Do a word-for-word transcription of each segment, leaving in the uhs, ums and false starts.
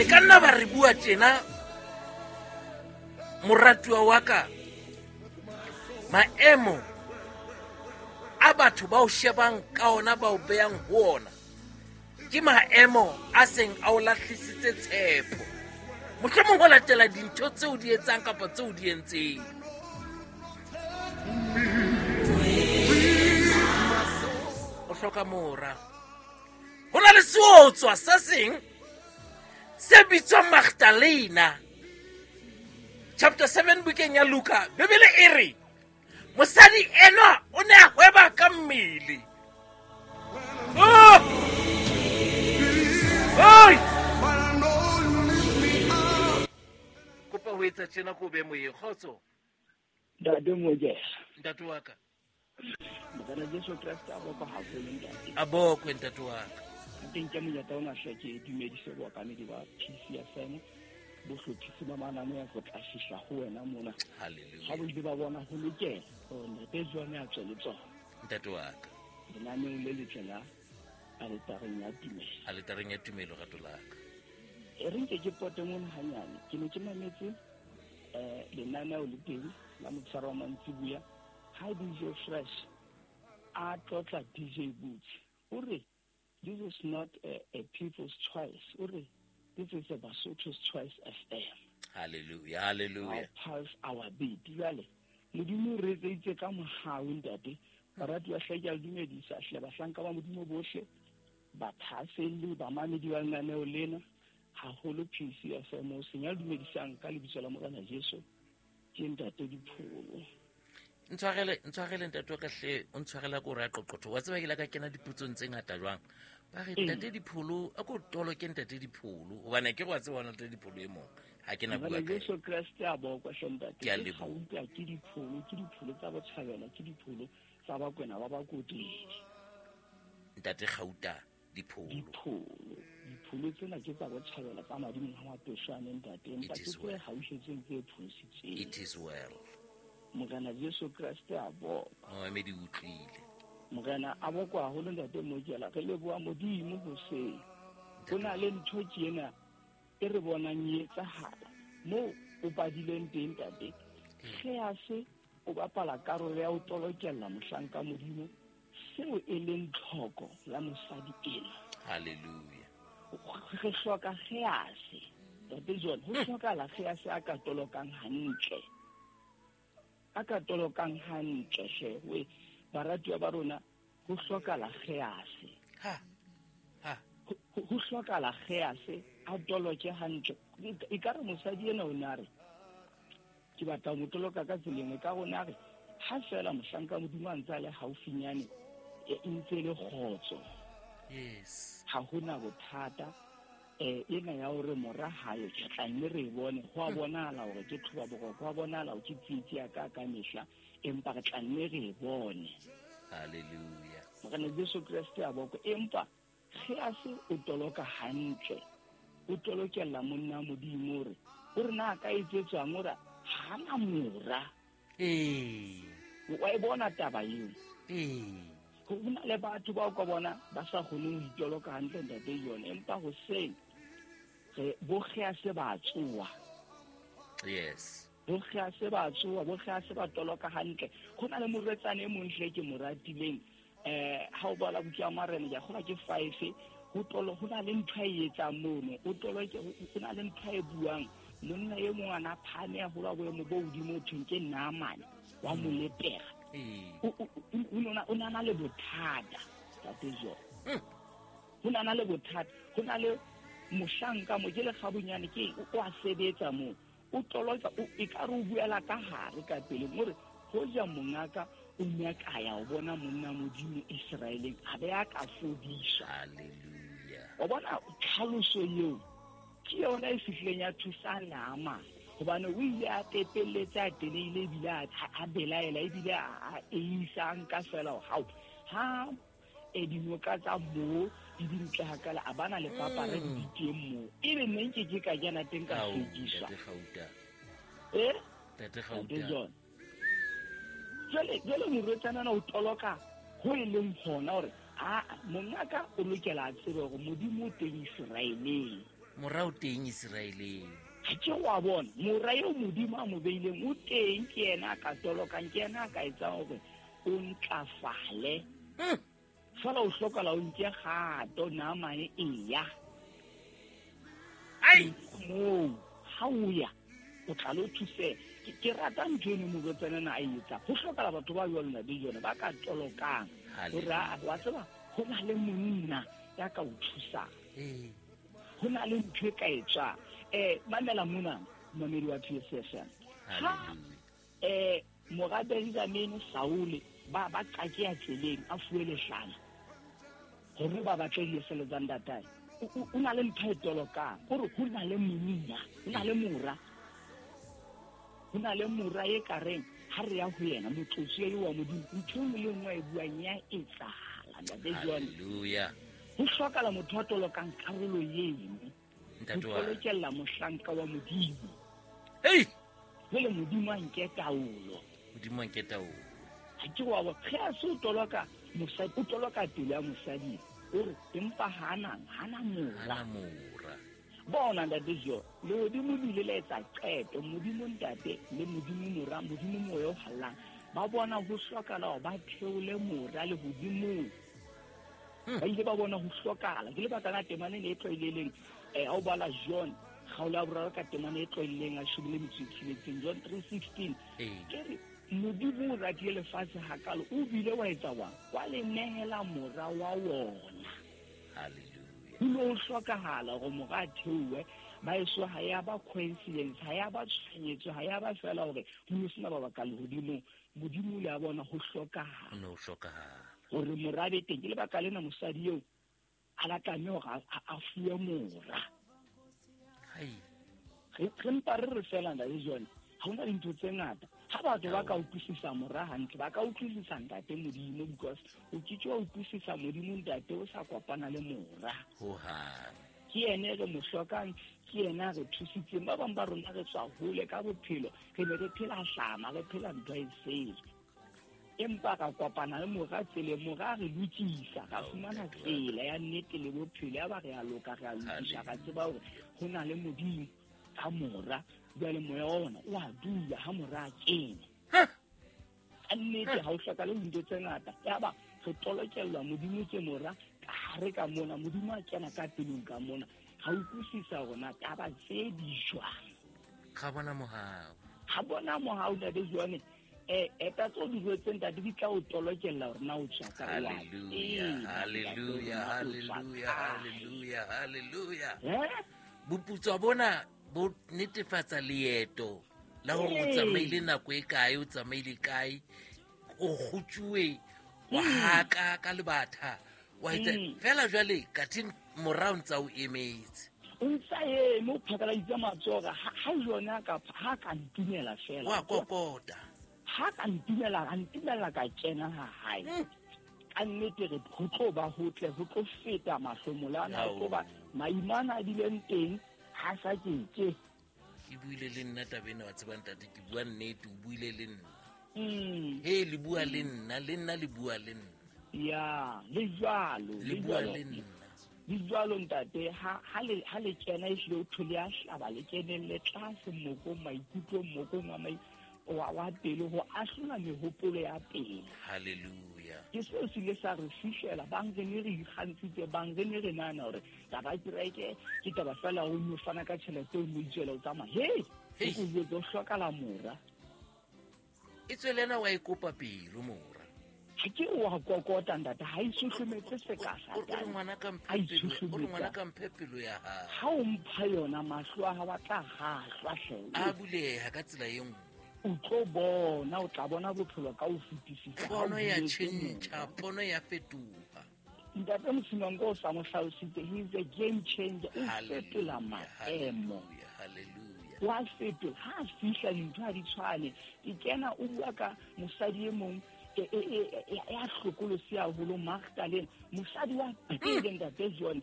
ka nna ba re bua tjena moratuwa wa ka, maemo a batho ba o shebang ka ona ba o beyang ho ona ke maemo a seng a o lahlisitse tshepo, mohlomong ho latela dintho tseo di etsang kapa tseo di entseng. O hloka mora. Ho na le seotswa se seng se bitswang Magdalena. Chapter seven bukeng ya Luka, Bibele e re mosadi enwa o ne a hweba ka mmele. Oh! Oi! Kopa ho etsa tjena ko be moyeng, kgotso. Ntate Mojela. Ntate wa ka. Morena Jesu Kreste a bokwe haholo ntate. A bokwe ntate wa ka. Teng ke monyetla ona hle ke dumedise bookamedi ba P C F M, bohlophisi ba mananeo go tla fihla ho wena mona. Hallelujah. Ha bo ile ba bona ho lokela hore ntate John a tswe le tsona. Ntate wa ka. Lenaneong le letle la aletareng ya tumelo. Aletareng ya tumelo rato la ka. E re nke ke pote mona hanyane. Ke ne ke mametse eh lenaneo le teng la motshwaro wa mantsibuya ha D J Fresh a tlotla D J Boots. O re this is not a, a people's choice. O re this is a Basotho's Choice F M. Hallelujah, hallelujah. Our pulse, our beat. Jwale Modimo re etseditse ka mohau ntate. Baratuwa hle ke a le dumedisa hle bahlanka ba Modimo bohle, bathahaselli, bamamedi ba lenaneo lena, haholo P C F M. O senya le dumedisang ka lebitso la Morena Jesu ke ntate Dipholo. Ntshwarele, ntshwarele ntate wa ka hle, o ntshwarela ko re a qoqotho. Wa tseba ke la ka kena dipotsong tse ngata jwang. Ba re ntate Dipholo, a ko tolo ke ntate Dipholo hobane ke go tseba ntate Dipholo e mong. Ha ke na bua ka Jesu Kreste a bokwa hle ntate. Ke a leboha. Ke Dipholo, ke Dipholo tsa Botshabela, ke Dipholo tsa Bakwena ba Bakotedi. Ntate Gauta Dipholo. Dipholo. Dipholo tsena ke tsa Botshabela tsa madimo a Mapeshwane ntate, empa ke tse haushetseng tse pholositseng. It is well. Morena Jesu Kreste a bokwa. Oh, me di utlwile. Morena a bokwa haholo ntate Mojela, re leboha Modimo hoseng. Ho na le ntho tjena e re bonang e etsahala moo o padileng teng ntate. Gease o bapala karolo ya ho tolokella mohlanka Modimo seo e leng tlhoko ya mosadi ena. Hallelujah. Re hloka Gease. Ntate John, ho hlokahala Gease a ka tolokang hantle. A ka tolokang hantle hle we baratuwa ba rona, ho hlokahala Gease. Ha. Ha. Ho hlokahala Gease a toloke hantle. E ka re mosadi ena o ne a re ke batla ho mo toloka ka tseleng, e ka rona re ha fela mohlanka Modimo a ntse a le haufinyane e ntse le kgotso. Yes. Ha hona bothata eh ena ya hore mora hayo ke tla nne re bone ho a bonahala hore ke thoba boroko, ho a bonahala hore ke tsietsi ya ka ka mehla, empa re tla nne re bone. Hallelujah. Morena Jesu Kreste a bokwe. Empa Gease o toloka hantle, o tolokella monna Modimo hore o re na ka etsetswang hore ha na mora. Eh. Wa e bona taba eo. Eh. Ho na le batho bao ka bona ba sa kgoneng ho itoloka hantle ntate yone, empa hoseng re bo Gease ba tsoa. Yes. Bo Gease ba tsoa, bo Gease ba toloka hantle. Ho na le morwetsana e mong hle ke mo ratileng. Eh ha o bala buka ya Marena ke kgola ke five, ho tolo ho na le ntho e etsang mono, o toloke ho na le ntho e buang. Monna e mong ana phane ya hola boemo bo hodimo thweng ke Naamane wa molepera. O o na le bothata ntate John. Ho na le bothata, ho na le mohlanka mo ke le kgabunyane ke o a sebetsa mo. O toloka e ka re o buela ka hare ka pele more hoja mongaka o ne ka ya o bona monna Modimo Israeleng a be a ka fodiswa. Hallelujah. O bona tlhaloso eo ke yona e fihlileng ya thusa Naamane hobane o ile a tepelletsa a teleile ebile a belaela ebile a eisa nka fela hao ha e dinoka tsa moo di dintle hakala a bana le papare di teng moo e be nne nke ke ka kena teng ka hlwekiswa. Eh Ntate Gauta. Jwale jwale morwetsana na o toloka ho e leng hona hore a mongaka o lokela a tsebe hore Modimo o teng Israeleng. Mora o teng Israeleng. Ha ke wa bona mora eo Modimo a mo beileng o teng, ke yena a ka tolokang, ke yena a ka etsang hore o ntlafale. Fela o hlokahala o nke kgato namane eya. Ai moo ha o ya o tla lo thuse. Ke rata ntho eno morwetsana na a e etsa. Ho hlokahala batho ba jwalo na dijone ba ka tolokang. Hore wa tseba ho na le monna ya ka o thusang. Eh. Ho na le ntho e ka etswang. Eh mamela mona mamedi wa P S F M. Ha eh mora Benjamin Saul ba ba qake ya tseleng a fuwe lehlana hore ba batle diesele tsa ntatae. O na le ntho e tolokang hore ho na le monna, ho na le mora. Ho na le mora e ka reng ha re ya ho yena motlotsi eo wa Modimo ntho e le nngwe e buang ya etsahala ntate John. Hallelujah. Ho hlokahala motho a tolokang karolo eno. Ntate wa tolokella mohlanka wa Modimo. Hey! Jwale Modimo a nke taolo. Modimo a nke taolo. Ha ke wa ge a se o toloka mosadi, o toloka pelo ya mosadi. O re empa hana hana mora. Hana mora. Bona ntate Jo, lehodimo le ile la etsa qeto, Modimo ntate le Modimo mora, Modimo moya o hallang. Ba bona ho hlokahala hore ba theole mora lehodimong. Ba ile ba bona ho hlokahala. Ke lebaka la temana e tlwaelehileng eh ha o bala John kgaolo ya boraro ka temana e tlwaelehileng a shobile le metso e tsheletseng, John three sixteen. Ke re Modimo o ratile lefatshe hakalo, o bile wa etsa wa wa le nehela mora wa wona. Hallelujah. Ho ne ho hlokahala hore mora a theohe, ba eso ha ya ba coincidence, ha ya ba tshohanyetso, ha ya ba fela hore ho ne sena mabaka lehodimong. Modimo o le a bona ho hlokahala. Ho ne ho hlokahala hore mora be teng. Ke lebaka lena mosadi eo a la tlameha hore a fuwe mora. Hai. Re mpa re re fela ntate John, ha hona dintho tse ngata. Ha batho ba ka utlwisisa mora hantle, ba ka utlwisisa ntate Modimo, because o ke ke wa utlwisisa Modimo ntate o sa kopana le mora. Hohang. Ke yena re mo hlokang, ke yena re thusitseng. Ba bang ba rona re tswa hole ka bophelo, re ne re phela hlama, re phela ntho e sele. Empa ka kopana le mora tseleng, mora re lokisa, ra fumana tsela ya nnete le bophelo, ya ba re a loka, re a lokisa, ra tseba hore ho na le Modimo ka mora. Jwale moya wa ona o a dula ha mora a kene. Ka nnete ha o hlokahale dintho tse ngata. Yaba re tolokellwa Modimo ke mora ka hare ka mona, Modimo a kena ka pelong ka mona. Ga utlwisisa hore na taba tse di jwang. Ga bona mohau. Ga bona mohau ntate John. Eh eta tso di jwetseng ntate di tla o tolokella hore na o tswa ka wa. Hallelujah, hallelujah, hallelujah, hallelujah, hallelujah. Eh? Boputswa bona bo netefatsa leeto la hore o tsamaile nako e kae, o tsamaile kae, o kgutsuwe, wa haka ka lebatha, wa etsa fela jwale kathe mora o ntsa o emetse. O ntsa eme, o phakaladitse matsoho ha jona ka ha ka ntumela fela. Wa kokota. Ha ka ntumela, a ntumela ka kena ha hae. Ka nnete re ho tlo ba hotle, ho tlo feta mahlomola ana, ho tlo ba maimana a bileng teng. Ha sa ke ke. Ke buile le nna taba ena, wa tseba ntate, ke bua nnete, o buile le nna. Mm. He le bua le nna, le nna le bua le nna. Ya, le jwalo, le bua le nna. Le jwalo ntate, ha ha le ha le kena ehlile o thole a hlaba le kenelle tlase mokong, maikutlong mokong wa mai wa wa pele ho ahlola mehopolo ya pele. Hallelujah. Ke seo se ile sa re fihlela, bang re ne re ikgantshitse, bang re ne re nahana hore taba ya kereke ke taba fela ho no fana ka tjhelete o no itswela o tsamaya. Hey, Hey. o jwetse o hlokala mora. E tswe le ena wa e kopa pelo mora. Ha ke wa kokota ntate, ha e susumetsa seka sa. O re ngwana ka mphe pelo, o re ngwana ka mphe pelo ya hao. Ha o mpha yona mahlo a hao a tla hahlwa hle. A buleha ka tsela e nngwe. O tlo bona, o tla bona bophelo ka ho fetisisa. Pono ya tjhentjha, pono ya fetoha. Ntate Mosimango o sa mo hlalositse, he is a game changer. O fetola maemo. Hallelujah. Wa fetola, ha a fihla dintho ha di tshwane. Ke kena o bua ka mosadi e mong ya hlokolosi haholo, Magdalene, mosadi wa pele ntate John,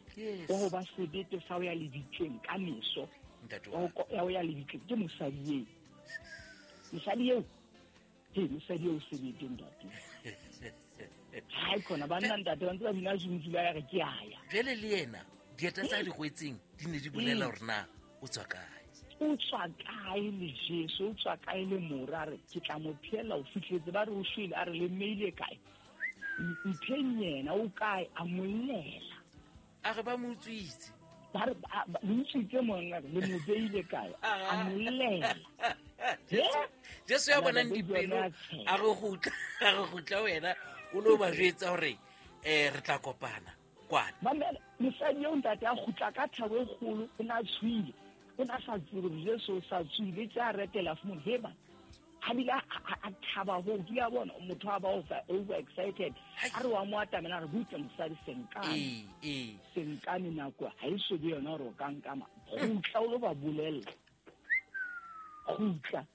wa ho ba sebete sa ho ya lebitleng ka meso. Ya ho ya lebitleng ke mosadi eo. Mosadi eo, he mosadi eo sebete ntate. Hai khona banna ntate ba ntse ba bina zunzula ya re ke aya. Jwale le yena Dieta tsa di gwetseng di ne di bolela hore na o tswa kae. O tswa kae le Jesu, o tswa kae le mora, a re ke tla mo phela o fihletse ba re o shwele, a re le mmeile kae? Mpheng yena o kae? A mollela. A re ba mo utswitse. Ba re le utswitse monna, le mo beile kae? A mollela. Jesu ya bonang dipelo a re gutla, a re gutla wena o lo ba jwetsa hore eh re tla kopana kwana. Mamela, mosadi eo ntate a kgutla ka thabo e kgolo, o na tshwile. O na sa tsebe hore Jesu o sa tswile, tse a retela fumane he ba. Ha bile a thaba ho ke ya bona motho a ba over over excited. A re wa mo atamela re butse mosadi senkane. Eh eh senkane nako ha e so be yona hore o ka nkama. Kgutla o lo ba bolella. Kgutla.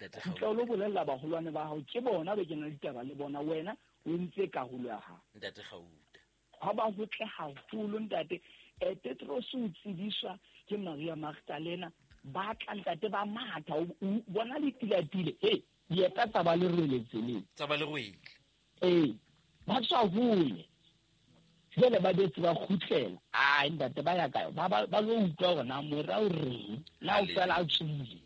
Kgutla o lo bolella baholwane ba hao, ke bona be ke na le ditaba le bona, wena o entse karolo ya hao. Ntate Gauta. Ha ba ho tle haholo ntate. Eh Petros o tsebiswa ke Maria Magdalena, ba tla ntate ba matha, o bona le tilatile, he dieta tsa ba le rwele tseleng. Tsa ba le rwele. Eh ba tswa hole. Jwale ba betse ba kgutlela. Ai ntate ba ya kae? Ba ba lo utlwa hore na mora o reng, na o fela a tswile.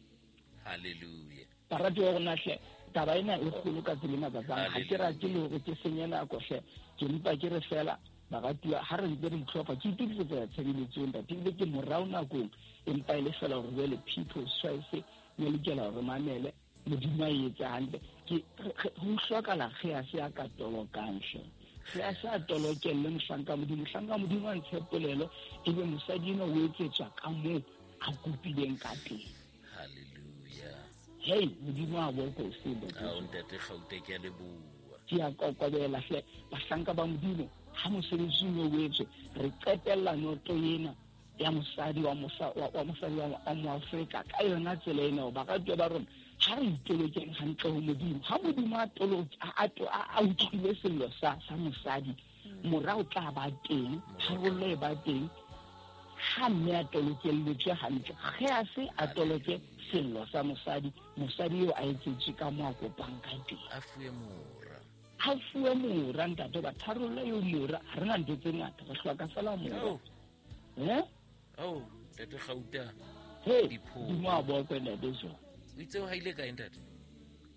Hallelujah. Barati wa rona hle, taba ena e kgolo ka tsela e makatsang. Ha ke rate le hore ke senye nako hle, ke mpa ke re fela baratuwa ha re ntse re itlhopha, ke itokisetsa tshebeletso ntate, ebile ke morao nakong, empa e le fela hore jwale People's Choice ne lokela hore mamele Modimo a etse hantle. Ke ho hlokahala ge a se a ka tolokang hle. Ge a sa tolokelle mohlanka Modimo, mohlanka Modimo a ntshe polelo, ebe mosadi eno o etsetswa ka moo a kopileng ka teng. Hallelujah. Hey, Modimo a boko o se ntate. Ao ntate Gauta, ke a leboha. Ke a kokobela hle, bahlanka ba Modimo ha mosebetsi o etswe, re qetella noto ena ya mosadi wa mosa wa mosadi wa Moafrika ka yona tsela ena. Baratuwa ba rona, ha re itolokeng hantle ho Modimo. Ha Modimo a toloke a a utlwile sello sa sa mosadi, mora o tla ba teng, tharollo e ba teng. Ha mme a tolokelletswe hantle, ge a se a toloke sello sa mosadi, mosadi eo a etsetswe ka moo a kopang ka teng. A fuwe mora. Ha fuwe mora ntate, ba tharollo eo mora, ha re na ntho tse ngata, re hloka fela mora. Eh? Oh, ntate Gauta. Hey, Modimo a bokwe ntate jo. O itse o haile kae ntate?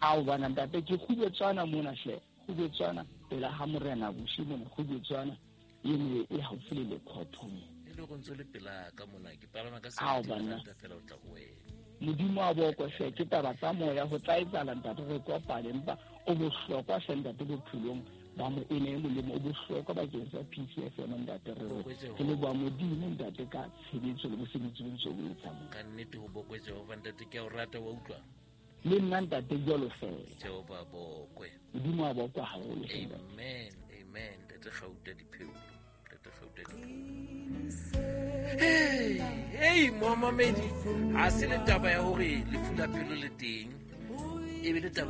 Ao bana ntate, ke kgubetswana mona hle, kgubetswana pela ha morena boshi mona, kgubetswana e ne e haufi le lekhotho mo. E le go ntse le pela ka mona, ke palama ka Ao seventy bana. ranta fela o tla ho wena. Modimo a bokwe hle, ke taba tsa moya ho tla etsahala ntate, re kopane, empa o bohlokwa hle ntate bophelong ba mo ene e molemo, o bohlokwa bakeng sa P C F M ntate, re Bokwe Jehova. re leboha Modimo ntate ka tshebetso le mosebetsi o ntse o etsa mo. Ka nnete ho bokwe Jehova ntate, ke a o rata wa utlwa. Le nna ntate jwalo fela. Jehova bokwe. Modimo a bokwe haholo hle ntate. Amen, amen. Ntate Gauta dipheo. Ntate Gauta dipheo. Hey, hey, momamedi, ha se le taba ya hore lefu la pelo le teng, e be le taba